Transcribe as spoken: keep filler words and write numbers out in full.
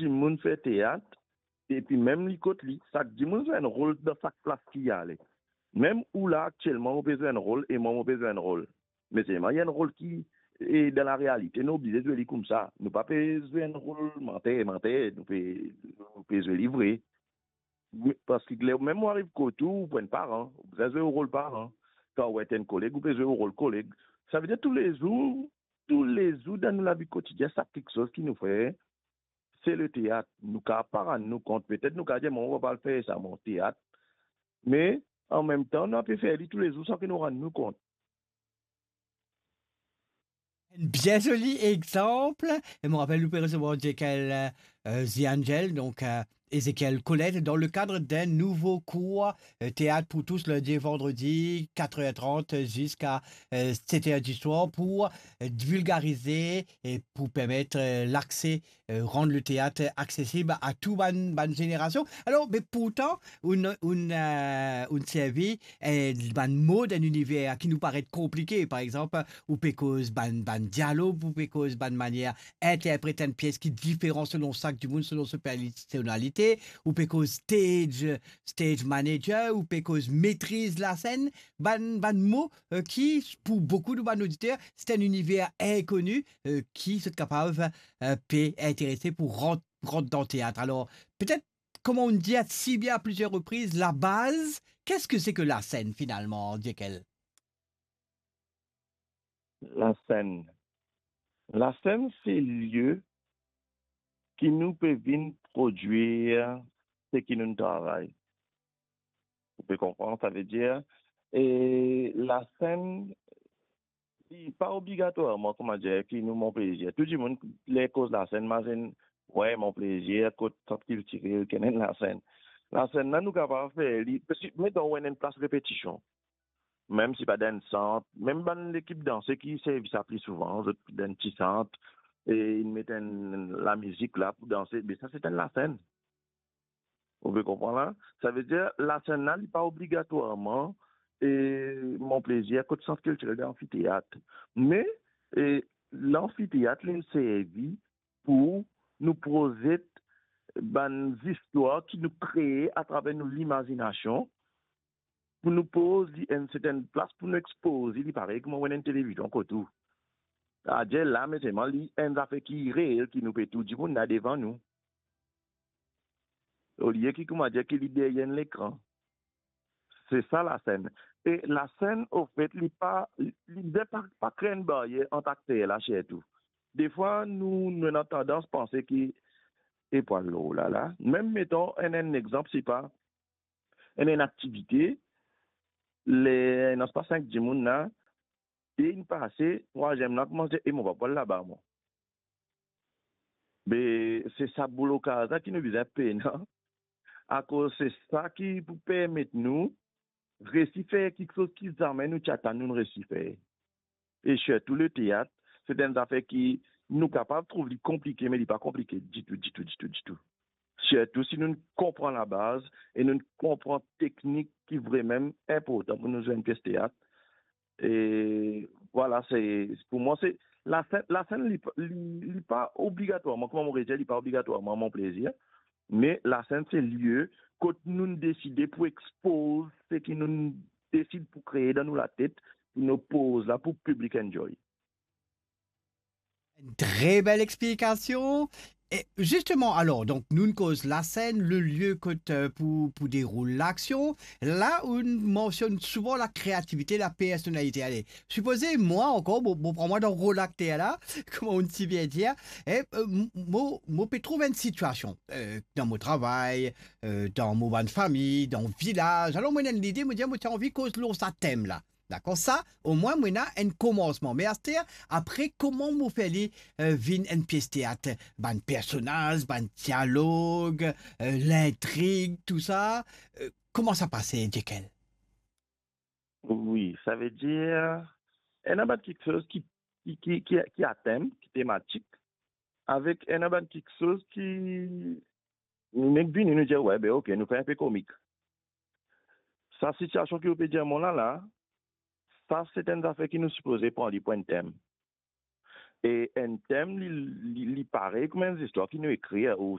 dimoun fer teat, epi mem li kot li, sak dimoun zwe enn rol dan sak plas ki li ale. Mem ou la aktielman, mo pe zwe enn rol e mwa, mo pe zwe enn rol. Me selman, li enn rol ki, e dan larealite, nou oblize zwe li koumsa. Nou pa pe zwe enn rol manter, manter, nou pe, nou pe zwe li vre. Me, parski ler mem ou ariv kot ou, ou pou enn paran, ou bizin zwe ou rol paran. Kan ou et enn koleg, ou pe zwe ou rol koleg. Savedir toulezour, toulezour dan nou lavi kotidien, sak kiksoz ki nou fer, se leteat. Nou kapav pa rann nou kont. Petet nou kapav dir, "Mo, mo pa pe al fer sa, mo, teat." Me, anmemtan, nou pe fer li toulezour san ki nou rann nou kont. Enn bien zoli exanp. E mo rapel, nou pe resevwar Ezekiel, euh, The Angel, donk, euh, Ezekiel Colette, dans le cadre d'un nouveau cours, euh, théâtre pour tous, lundi et vendredi, quatre heures trente jusqu'à, euh, sept heures du soir, pour, euh, vulgariser et pour permettre, euh, l'accès, euh, rendre le théâtre accessible à tout bann, bann génération. Alors, mais pourtant, on, on, euh, on servi, euh, bann mo dan enn liniver ki nou paret konplike. Par exemple, ou pe koz bann, bann dialog, ou pe koz bann manier interpret enn pies ki diferan selon sak dimoun, selon so personalite, ou pe koz stage, stage manager, ou pe koz metriz lasenn, bann, bann mo, euh, ki, pou boukou de bann oditer, se enn liniver inkoni, euh, ki zot kapav, euh, pe interese pou rant, rant dan teat. Alors, peut-être, comme on dit si bien à plusieurs reprises, la base, qu'est-ce que c'est que la scène, finalement, Ezekiel ? Lasenn. Lasenn se lie ki nou pe vinn prodwir seki nou travay. Ou pe konpran, savedir, e lasenn, li pa obligatwarman, kouma dir, ki nou Mon Plaisir. Tou dimoun, ler koz lasenn, mazinn, wi, Mon Plaisir, kot sant kiltirel, ki ena enn lasenn. Lasenn la, nou kapav fer li, parski, meton, ou ena enn plas repetision. Mem si pa dan enn sant, mem bann lekip danse ki servi sa pli souvan, zot dan enn ti sant, e inn met enn lamizik la pou danse, me sa se enn lasenn. Ou pe konpran la? Savedir, lasenn la, li pa obligatwarman, e, Mon Plaisir, kot sant kiltirel dan anfiteat. Me, e, lanfiteat, li servi pou nou prozet bann zistwar ki nou kree atraver nou limazinasion, pou nou poz li enn sertenn plas, pou nou expoz li, parey kouma ou ena enn televizion kot ou. Adir la, me selman li enn zafer ki reel, ki nou pe tou dimoun la devan nou. Olie ki, kouma dir, ki li deryer enn lekran. Se sa lasenn. E lasenn, ofet, li pa, li, li pa, pa kre enn baryer ant akter la, sirtou. Defwa, nou, nou ena tandans panse ki, e pou al lor la la. Mem meton enn, enn exanp, se pa enn, enn aktivite, ler ena spa sink dimoun la, de inn pase, trwaziem la koumans dir, "E mo pa pou al laba, mwa." Be, se sa blokaz la ki nou bizin pena, akoz se sa ki pou permet nou resi fer kiksoz ki zame nou ti atann nou resi fer. E sirtou leteat, se enn zafer ki nou kapav trouv li konplike, me li pa konplike ditou, ditou, ditou, ditou. Sirtou si nou konpran labaz e nou konpran teknik ki vremem inportan pou nou zwe enn pies teat. E vwala, se, pou mwa, se lasenn, lasenn, li, li, li pa obligatwarman, kouma mo redir, li pa obligatwarman Mon Plaisir, me lasenn se lie kot nou deside pou expoz seki nou desid pou kree dan nou latet, pou nou poz la pou piblik enjoy. Enn tre bel explikasion. E zisteman, alor, donk, nou koz lasenn, le lie kot, euh, pou, pou deroul laksion. La, ou mansionn souvan lakreativite, lapersonalite. Ale, sipoze, mwa ankor, bon, bon, pran mwa dan rol akter la, kouma ou ti bien dir, e, euh, m-, mo, mo pe trouv enn sitiasion, euh, dan mo travay, euh, dan mo bann fami, dan vilaz. Alor, mo ena enn lide, mo dir, mo ti anvi koz lor sa tem la. Dakor, sa, omwin mo ena enn komansman. Me aster, apre, kouma mo fer li, euh, vinn enn pies teat? Bann personaz, bann dialog, euh, lintrig, tou sa, euh, kouma sa pase, Ezekiel? Wi, savedir, ena bann kiksoz ki, ki, ki, ki, ki a tem, ki tematik, avek ena bann kiksoz ki nou nek vini, nou dir, "Wi, be, ok, nou fer enpe komik." Sa sitiasion ki ou pe dir mwa la la, sa se enn zafer ki nou sipoze pran li pou enn tem. E enn tem, li, li, li parey kouma enn zistwar ki nou ekrir, ou